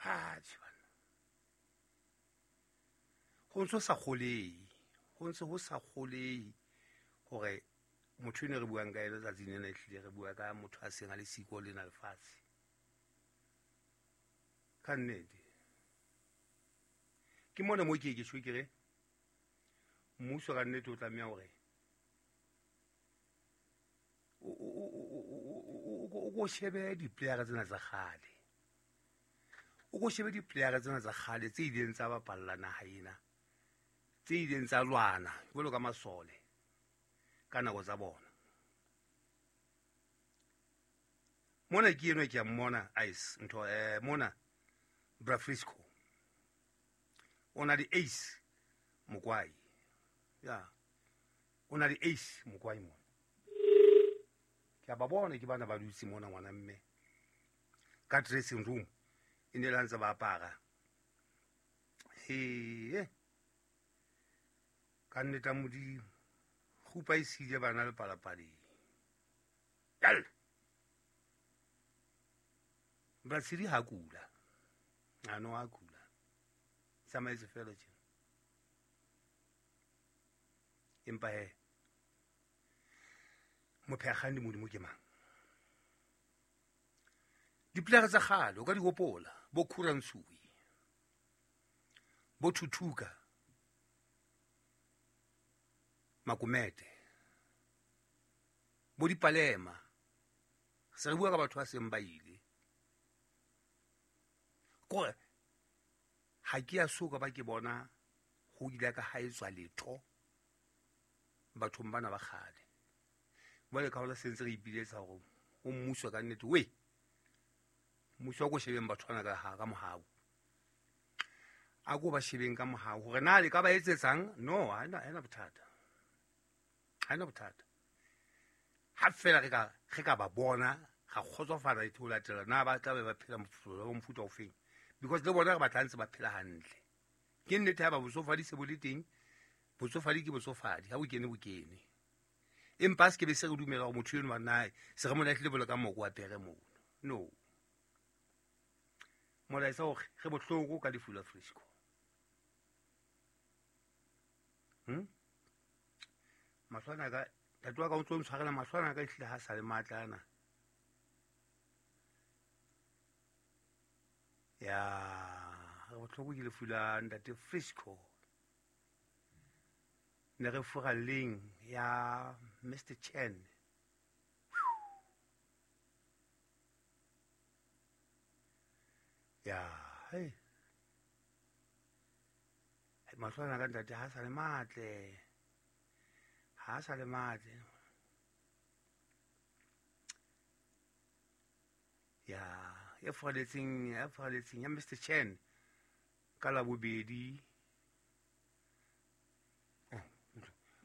Atjhe banna, ho ntse ho sa kgolehe, ho ntse ho sa kgolehe hore motho ene re buang ka ena tsatsing lena, ehlile re bua ka motho a seng a le siko lena lefatshe. Ka nnete ke mona mo ke ke tjho ke re mmuso ka nnete o tlameha hore o ko shebe di-player tsena tsa kgale, o ko shebe di-player tsena tsa kgale tse ileng tsa bapalla naha ena, tse ileng tsa lwana jwalo ka masole ka nako tsa bona. Mona ke enwa ke a mmona ice ntho mona Bra Frisco o na le Ace Mokwai, ya o na le Ace Mokwai mona. Ke a ba bona ke bana ba dutse mona ngwana mme ka dressing room e ne le ntse ba apara. He ka nnete Modimo kgupa e siile bana le palapaleng. Yalla Bratshedi ha kula, ano ha kula, tsamaetse fela tjena. Empa he mophekgang di Modimo ke mang? Dipolere tsa kgale o ka di hopola, bo Khuransui, bo Thuthuka, Makomete, bo Dipalema. Se re bua ka batho ba seng ba ile. Kore ha ke ya soka ba ke bona ho ile ka ha etswa letho bathong bana ba kgale. Jwale ka hola sentse re ipiletsa hore ho mmuso ka nnete, we mmuso wa ko shebeng batho bana ka ka mohau, a ko ba shebeng ka mohau hore na le ka ba etsetsang. No, ha ena bothata, ha ena bothata. Ha fela re ka ba bona ra kgotsofala ho latela na ba tla be ba phela mofuta ofeng, because le bona re batla ntse ba phela hantle. Ke nnete ha ba botsofadi se bo le teng, botsofadi ke botsofadi, ha bo kene bo kene. Empa se ke be se re dumela hore motho eno wa nae se re mo lahlile bolo ka moko wa pere mono. No, molaetsa hore re bohloko ka lefu la Frisco. Mahlwana ka ntate wa ka o tlo ntshwarela, mahlwana ka ehlile ha sa le matla ana. Ya re bohloko ke lefu la ntate Frisco. Ne re furalleng ya Mr Chen. Ya hey, mahlwana ka ntate ha sa le matle, ha sa le matle. Ya e furaletseng, ya furaletseng ya Mr Chen ka la bobedi.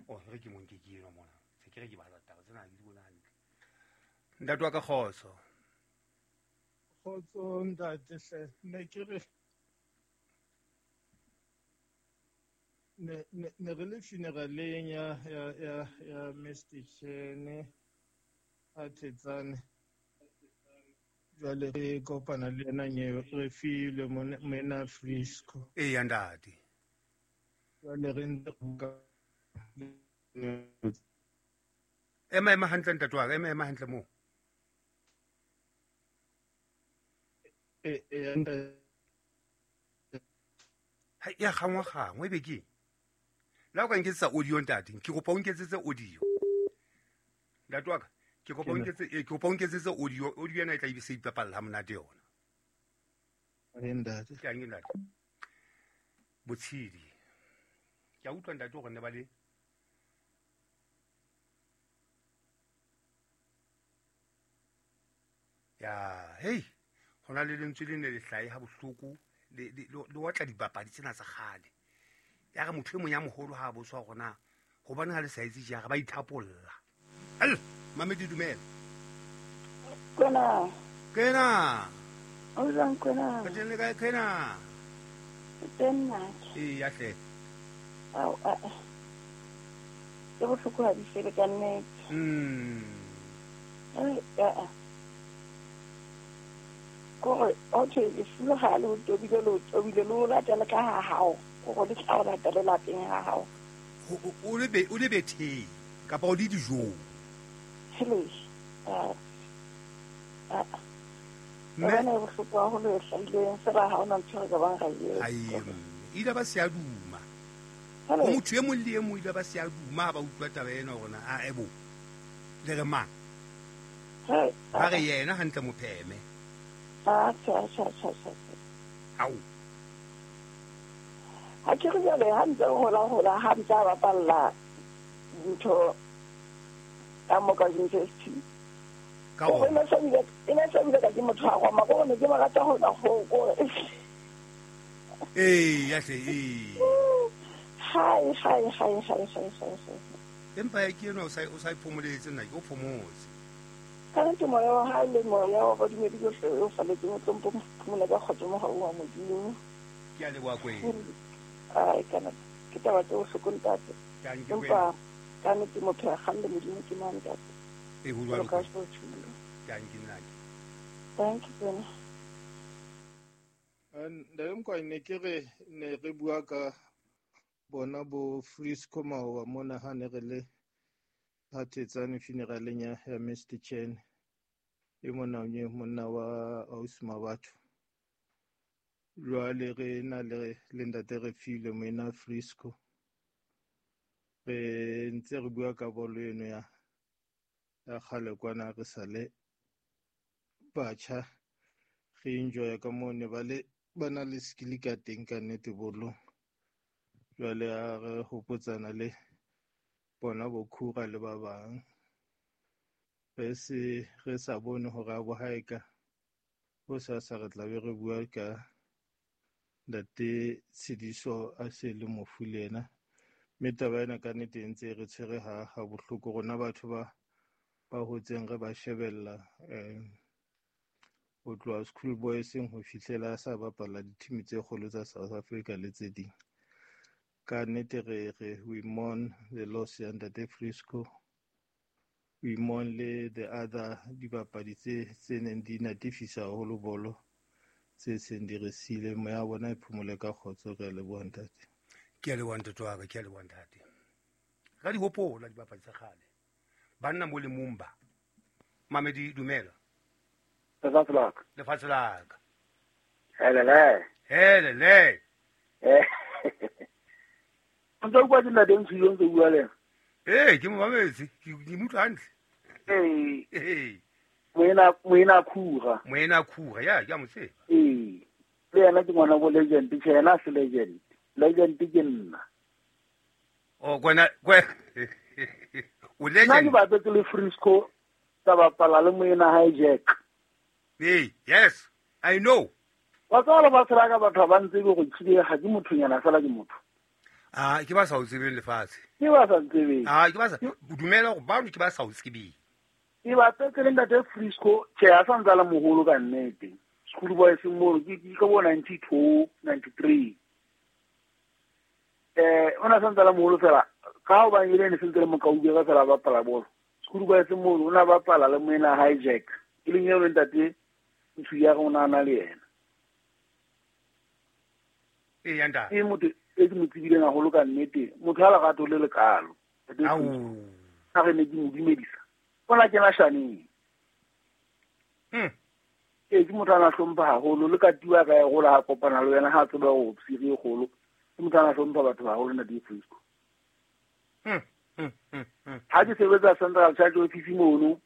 Oh, re ke monke ke eno mona. Se ke re ke bala taba tsena ke di bona hantle. Ntate wa ka kgotso. Kgotso ntate hle, ne ke re ne re le funeraleng ya Mr Chen a Thetsane. Jwale re kopana le yena nyewe re filwe mona Frisco. Ee ya ntate. Jwale re ntse ema ema hantle ntate wa ka, ema ema hantle moo. Ha ya kgangwa kgangwa ebe ke la o ka nketsetsa audio ntate, ke kopa o nketsetse audio ntate wa ka, ke kopa o nketse, ke kopa o nketsetse audio. Audio ena e tla se ipapalla ha monate yona. Ntate ke ang ntate Botshidi, ke a utlwa ntate hore ne ba le ya hey, hona le lentswe le ne le hlahe ha bohloko le otla dibapadi tsena tsa kgale. Ya re motho e mong ya moholo ha a botswa hore na hobane ha le sa etse jara ba ithapolla. Al mamedi dumela. Kwena. Kwena. O jwang kwena? Ka teng le kae kwena? Teng nna. Ee ya hle. Ao a. Ke bohloko ha di fele ka nnete. Ai a. Kore o thwe lefu ha le o tobile le o tobile le o latele ka ha hao. Kore le tla o latele lapeng ha hao. O le be o le betheng kapa o le dijong. Hele. Mme e bohloko haholo e hlahileng fela ha hona ntho re ka bang ra e etsa. Ile ba se a duma. Ho motho e mong le e mong ile ba se a duma ha ba utlwa taba ena hore na a ebo. Le re mang? Ba re yena hantle mopheme. Tjhe. Ao. Ha ke re jwale ha ntse hola ha ntse a bapalla ntho ka mo ka university. Ka Roma. E ne se bile ka ke motho wa Roma, ko ne ke mo rata hona ho ko. Ee, ya hle ee. Hai. Empa ya ke eno o sa iphomoletse nna ke o phomotse. Ka nnete moya wa hae le moya wa badumedi bohle o faletseng o tlo mphomola ka kgotso mohau wa Modimo. Ke a leboha Kwena. Ai kana ke taba tse bohloko ntate. Empa ka nnete motho ya kgalle Modimo ke mang ntate. E ho jwalo. Thank you nna. Thank you Kwena. Ntate Mokwane ne ke re ne re bua ka bona bo Frisco maoba mona ha ne re le Phathetsane funeraleng ya Mr. Chen e mona o monna wa ausi Mabatho. Jwale re na le ntate re file moena Frisco. Re ntse re bua ka bolo eno ya kgale kwana re sa le batjha re enjoya ka moo ne ba le ba na le skill ka teng ka nnete bolong. Jwale ha re hopotsana le bona bo Khura le ba bang re se re sa bone hore a bo haeka ho sa re tla be re bua ka ntate Tshidiso a se le mofu le yena. Mme taba ena ka nnete e ntse re tshwere ha bohloko rona batho ba hotseng re ba shebella ho tloha school boyseng ho fihlela a sa bapala di-team tse kgolo tsa South Africa le tse ding. Ka nnete re we mourn the loss ya ntate Frisco, we mourn le the other dibapadi tse neng di natefisa haholo bolo tse seng di re siile. Moya wa bona e phomole ka kgotso. Re a leboha ntate. Ke a leboha ntate wa ka, ke a leboha ntate. Ra di hopola dibapadi tsa kgale. Banna mo le mumba. Mamedi dumela. Lefatshe la ka. Lefatshe la ka. Helele. Helele. Ntse o bua ke ntate Ntshilo ntse o bua le yena. Ee, ke mo mametse, ke mo utlwa hantle. Ee. Moena Khura. Moena Khura, ya ke a mo tseba. Ee. Le yena ke ngwana bo legend, tjhe yena se legend. Legend ke nna. Oh, kwena o legend. Nna ke bapetse le Frisco tsa bapala le moena hae Jack. Ee, yes, I know. Wa tseba lefatshe la ka batho ba ntsebe go tshile ga ke mothonyana fela ke motho. Ah, ke ba sa o tsebeng lefatshe. Ke ba sa ntsebeng. Ah, ke ba sa dumela go bano ke ba sa o tsebeng. Ke bapetse le ntate Frisco, tjhe a sa ntse a le moholo ka nnete. School boys mono ke ka bo 92, 93. O na sa ntse a le moholo fela ka ho ba ile ne sentse le mokaubere fela ba bapala bolo. School boys mono o na bapala le moena hae Jack. E leng eo le ntate Ntsu ya rona a na le yena. Ee, ya ntate. Ke motho e ke mo tsebileng haholo ka nnete. Motho ha lerato le lekalo. Ao. Ha re ne ke mo dumedisa. Ona kena shaneng. Ee, ke motho a na hlompha haholo le ka tiwa ka e gola ha kopana le wena ha tseba go psiri e kgolo. Ke motho a na hlompha batho haholo ntate Frisco. Ha ke sebetsa Central Charge Office mono,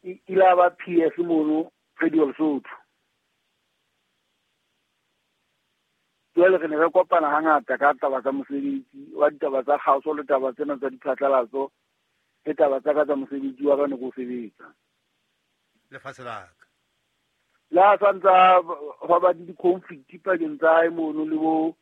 ile ba PS mono Radio Lesotho. Jwale re ne re kopana hangata ka taba tsa mosebetsi wa ditaba tsa kgaso le taba tsena tsa diphatlalatso le taba tsa ka tsa mosebetsi wa ka ne ko sebetsa. Lefatshe la ka. Le ha sa ntsa hwa ba le di-conflict pakeng tsa hae mono le bo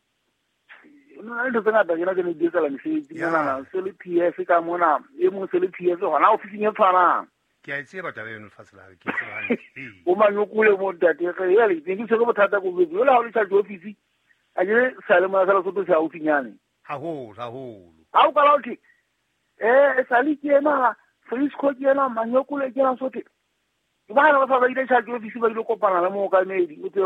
no ntho tse ngata tjena tse ne di etsahala mesebetsi monana, se le PS ka mona, e mong se le PS hona ofising e tshwanang. Ke a e tseba taba eno lefatshe la ka, ke e tseba hantle. O manyokole mo ntate, re ele ne ke tshwere bothata ko jwetse. Jwale ha o le charge office, a ke sa le mona sa Lesotho se haufinyane. Haholo, haholo. Ha o kala o thwe, sale ke ena, Frisco ke ena, Manyokole ke ena, Sotho. Ke bana ba sa ba ile charge office ba ile kopana le mookamedi o tsebe.